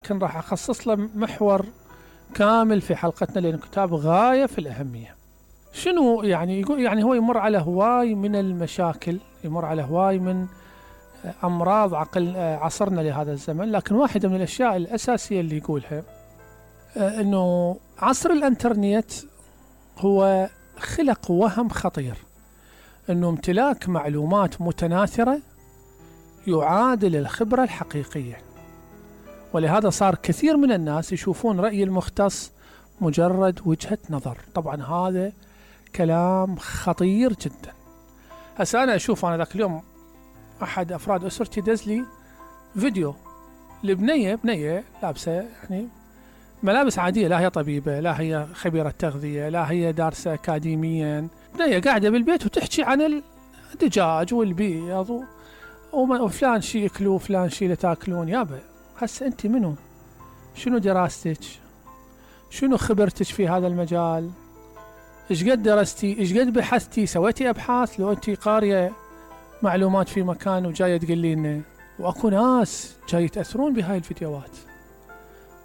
لكن راح أخصص له محور كامل في حلقتنا، لأنه كتاب غاية في الأهمية. شنو يعني؟ يقول يعني هو يمر على هواي من المشاكل، يمر على هواي من أمراض عصرنا لهذا الزمن، لكن واحدة من الأشياء الأساسية اللي يقولها أنه عصر الإنترنت هو خلق وهم خطير، أنه امتلاك معلومات متناثرة يعادل الخبرة الحقيقية، ولهذا صار كثير من الناس يشوفون رأي المختص مجرد وجهة نظر. طبعا هذا كلام خطير جدا. هسه أنا أشوف، أنا ذاك اليوم أحد أفراد أسرتي دز لي فيديو بنية لابسة يعني ملابس عادية، لا هي طبيبة، لا هي خبيرة تغذية، لا هي دارسة أكاديميا، بنية قاعدة بالبيت وتحكي عن الدجاج والبيض وفلان شي يأكلوا وفلان شي لا تاكلون. يابا هسه أنت منو؟ شنو دراستك؟ شنو خبرتك في هذا المجال؟ إيش قد درستي؟ إيش قد بحثتي؟ سويتي أبحاث؟ لو أنت قارية معلومات في مكان وجاية تقولي لنا. وأكو ناس جاي يتأثرون بهاي الفيديوهات،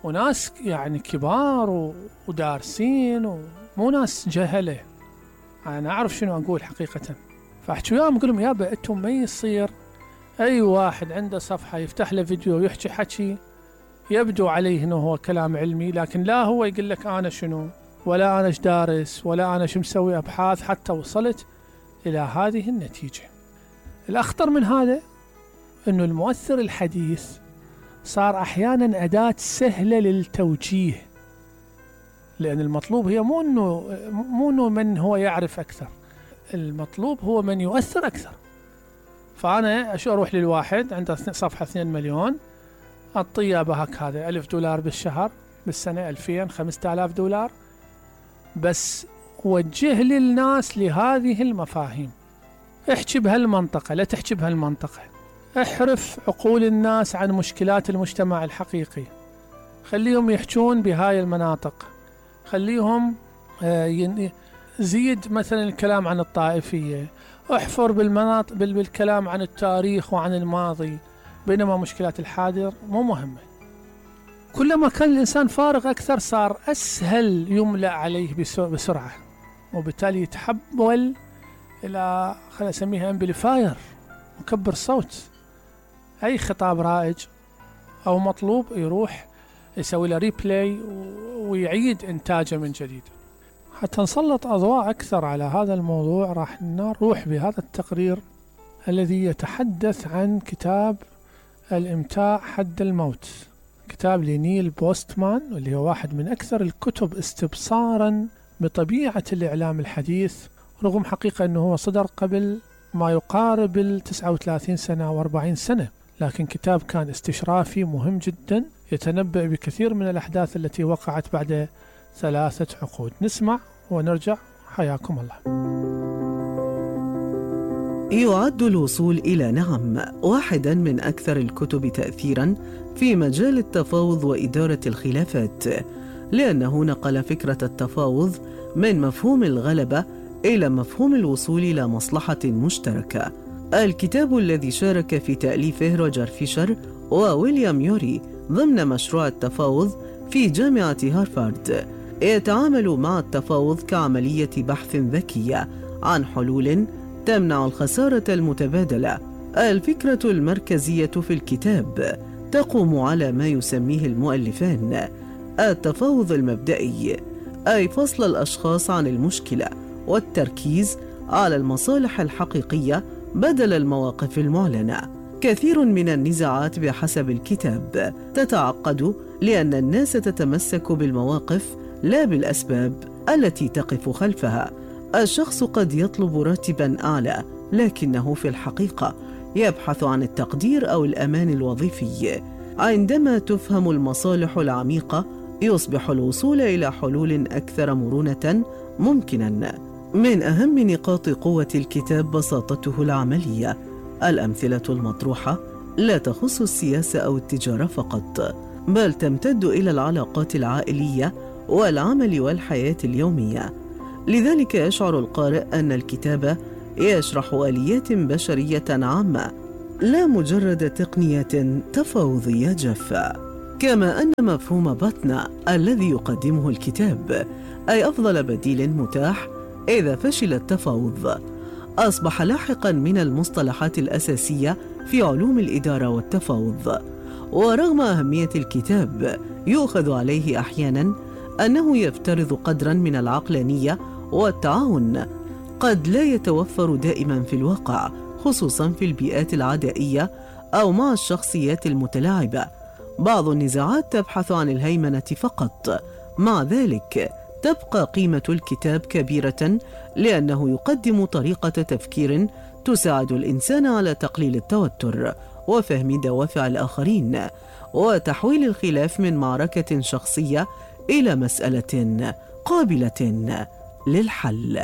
وناس يعني كبار ودارسين ومو ناس جهلة. أنا أعرف شنو أقول حقيقة. فأحكي وياهم أقول لهم يابا أنتم ما يصير أي واحد عنده صفحة يفتح له فيديو ويحكي حكي يبدو عليه أنه هو كلام علمي، لكن لا هو يقول لك أنا شنو، ولا أنا ايش دارس، ولا أنا شو مسوي أبحاث حتى وصلت إلى هذه النتيجة. الأخطر من هذا أنه المؤثر الحديث صار أحيانا أداة سهلة للتوجيه، لأن المطلوب هي مو أنه من هو يعرف أكثر، المطلوب هو من يؤثر أكثر. فأنا أروح للواحد عنده صفحة 2 مليون أعطيه بهك هذا $1000 بالشهر، بالسنة 2000 $5000، بس وجه للناس لهذه المفاهيم. احكي بهالمنطقة، لا تحكي بهالمنطقة. احرف عقول الناس عن مشكلات المجتمع الحقيقي، خليهم يحجون بهاي المناطق، خليهم زيد مثلا الكلام عن الطائفية، احفر بالكلام عن التاريخ وعن الماضي، بينما مشكلات الحاضر مو مهمة. كلما كان الإنسان فارغ أكثر صار أسهل يملأ عليه بسرعة، وبالتالي يتحول إلى خلينا نسميها امبليفاير، مكبر صوت. أي خطاب رائج أو مطلوب يروح يسوي له ريبلاي ويعيد إنتاجه من جديد. حتى نسلط أضواء أكثر على هذا الموضوع راح نروح بهذا التقرير الذي يتحدث عن كتاب الإمتاع حد الموت، كتاب لنيل بوستمان، واللي هو واحد من أكثر الكتب استبصارا بطبيعة الإعلام الحديث، رغم حقيقة أنه هو صدر قبل ما يقارب 39 سنة و40 سنة، لكن كتاب كان استشرافي مهم جدا يتنبأ بكثير من الأحداث التي وقعت بعد 3 عقود. نسمع ونرجع. حياكم الله. يعد الوصول إلى نعم واحدا من أكثر الكتب تأثيرا في مجال التفاوض وإدارة الخلافات، لأنه نقل فكرة التفاوض من مفهوم الغلبة إلى مفهوم الوصول إلى مصلحة مشتركة. الكتاب الذي شارك في تأليفه روجر فيشر وويليام يوري ضمن مشروع التفاوض في جامعة هارفارد يتعامل مع التفاوض كعملية بحث ذكية عن حلول تمنع الخسارة المتبادلة. الفكرة المركزية في الكتاب تقوم على ما يسميه المؤلفان التفاوض المبدئي، أي فصل الأشخاص عن المشكلة والتركيز على المصالح الحقيقية بدل المواقف المعلنة. كثير من النزاعات بحسب الكتاب تتعقد لأن الناس تتمسك بالمواقف لا بالأسباب التي تقف خلفها. الشخص قد يطلب راتبا أعلى، لكنه في الحقيقة يبحث عن التقدير أو الأمان الوظيفي. عندما تفهم المصالح العميقة يصبح الوصول إلى حلول أكثر مرونة ممكنا. من أهم نقاط قوة الكتاب بساطته العملية. الأمثلة المطروحة لا تخص السياسة أو التجارة فقط، بل تمتد إلى العلاقات العائلية والعمل والحياة اليومية. لذلك يشعر القارئ أن الكتاب يشرح آليات بشرية عامة، لا مجرد تقنية تفاوضية جافة. كما أن مفهوم بطن الذي يقدمه الكتاب أي أفضل بديل متاح إذا فشل التفاوض أصبح لاحقا من المصطلحات الأساسية في علوم الإدارة والتفاوض. ورغم أهمية الكتاب يؤخذ عليه أحيانا أنه يفترض قدرا من العقلانية والتعاون قد لا يتوفر دائما في الواقع، خصوصا في البيئات العدائية أو مع الشخصيات المتلاعبة. بعض النزاعات تبحث عن الهيمنة فقط، مع ذلك تبقى قيمة الكتاب كبيرة لأنه يقدم طريقة تفكير تساعد الإنسان على تقليل التوتر وفهم دوافع الآخرين وتحويل الخلاف من معركة شخصية إلى مسألة قابلة للحل.